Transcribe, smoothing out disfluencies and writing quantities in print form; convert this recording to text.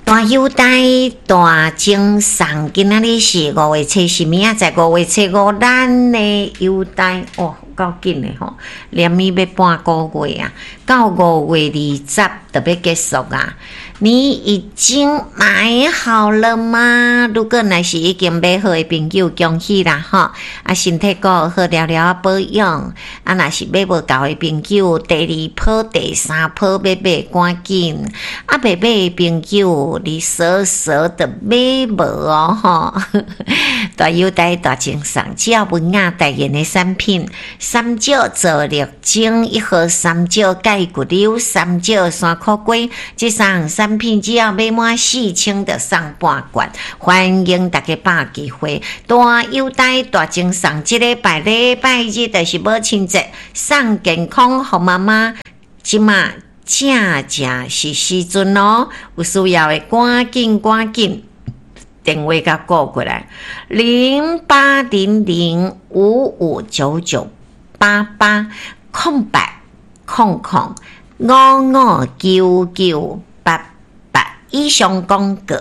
大優待大贈送，今仔日是五月初四，明仔載五月初五，咱的優待哦，夠緊的吼，連咪欲半個月啊，到五月二十就欲結束啊。你已經買好了嗎？如果若是已經買好的朋友，恭喜啦吼！啊，身體閣好了了保養。啊，若是買無夠的朋友，第二波、第三波欲買趕緊。啊，未買的朋友，你傻傻的買無哦吼！大優待大贈送，只要文雅代言的產品，三石皂綠精一盒三石鈣骨溜，三石山苦瓜，這三項產品只要買滿4000就送半罐，歡迎大家把握機會。大優待大贈送，這禮拜禮拜日就是母親節，送健康予媽媽，這馬正正是時陣哦，有需要的趕緊趕緊電話共撥過來，08005599880800559988以上廣告。